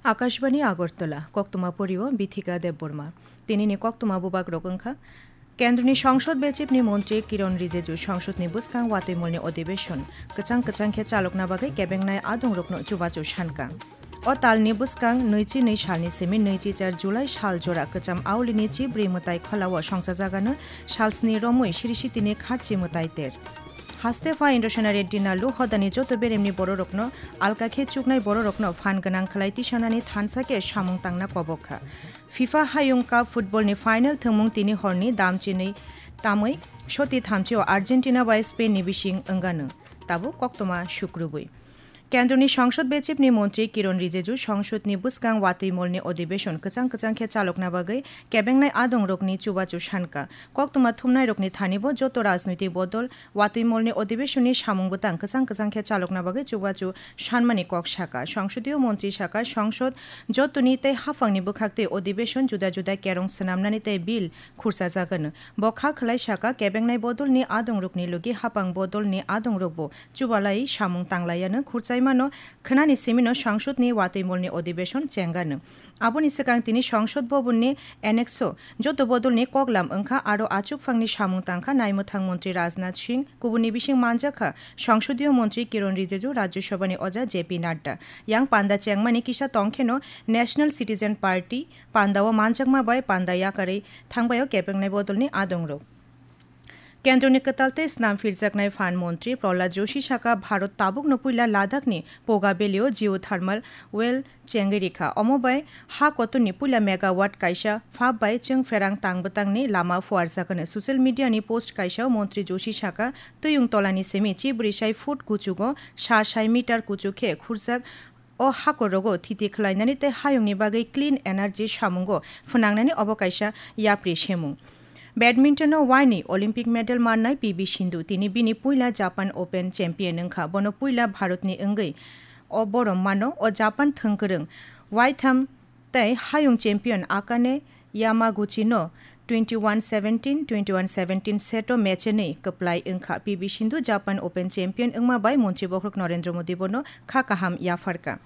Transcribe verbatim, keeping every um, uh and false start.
Akashbani Agartala, koktwma porio Bithika Debbarma. Tinini koktwma bubagrok wngkha: Kendroni Songsod Bechipni Montri Kiron Rijeju Songsodni bwskang watwimolni odibeshon kwchang kwchang khe chalokna bagwi kebengnai adongrokno chubachu sankha. O talni bwskang nwichi nwi salni simi nwichi char July sal jora kwcham aulini chibrwi mwtai kholao songchajagano salsni romwi sirisitini kharchi mwtai ter. Haste pha Indosena Reddy Nalu hodani joto beremni bororokno alka khe chuknai bororokno phan gwnang khlai tisanani thansa khe samung tangna kobok kha. FIFA Hayung Cup football ni final thwngmung tini horni damchinwi tamwi soti thamchi o Argentina bai Spain ni bising wngano. Tabuk koktwma sukrubwi. Kendroni Songsod Bechipni Montri Kiron Rijeju Songsodni bwskang watwimolni odibeshon kwchang kwchang khe chalokna bagwi kebengnai adongrokni chubachu sankha. Koktwma thumnairokni thanibo joto rajnoitik bodol watwimolni odibeshonni samung bwtang kwchang kwchang khe chalokna bagwi chubachu sanmani kok sakha. Songsodio montri sakha, songsod jotoni tei haphangni bwkhaktwi odibeshon juda juda kerong swnamnani tei bill khurchajagano. Bo kha khwlai sakha, kebengnai bodolni adongrokni logi haphang bodolni adongrokbo chubalai samung tanglaiano khurchaimano khwnani simino songsodni watwimolni odibeshon chengano. Aboni swkang tini songsod bobonni annex-o joto bodolni koklam wngkha, aro achukphangni samung tangkha naimwthang montri Rajnath Singh, kubunni bising manjakha songsodio montri Kiron Rijeju, Rajya Sabhani oja J P Nadda. Yang panda chengmani kisa tongkheno National Citizen Party pandao manjakma bai panda yakarwi thangbaio kebengnai bodolni adongrok. Kendroni kwtal tei snam phirjaknai phan montri Prahlad Joshi sakha, Bharat tabukno puila Ladakhni Poga Valley-o geothermal well chengwi rikha. Omo bai ha kotorni puila megawatt kaisa phap bai chwng pherang tang bwtangni lama phuarjakano. Social media ni post kaisao montri Joshi sakha, twiwng tolani simi chibrwi sai foot kuchugo sa sai meter kuchuk khe khurjak o hakorogo thiti khwlainani tei hayungni bagwi clean energy samungo phwnangnani obo kaisa yapri semung. Badminton-o waini Olympic medal mannai P V Sindhu tini bini puila Japan Open champion wngkha. Bono puila Bharatni wngwi o borom mano. O Japan thwngkwrwng waitham tei hayung champion Akane Yamaguchi no twenty-one seventeen, twenty-one seventeen set o match ni kwplai wngkha. P V Sindhu Japan Open champion wngma bai montri bokhorok Narendra Modi bono kha kaham yapharkha.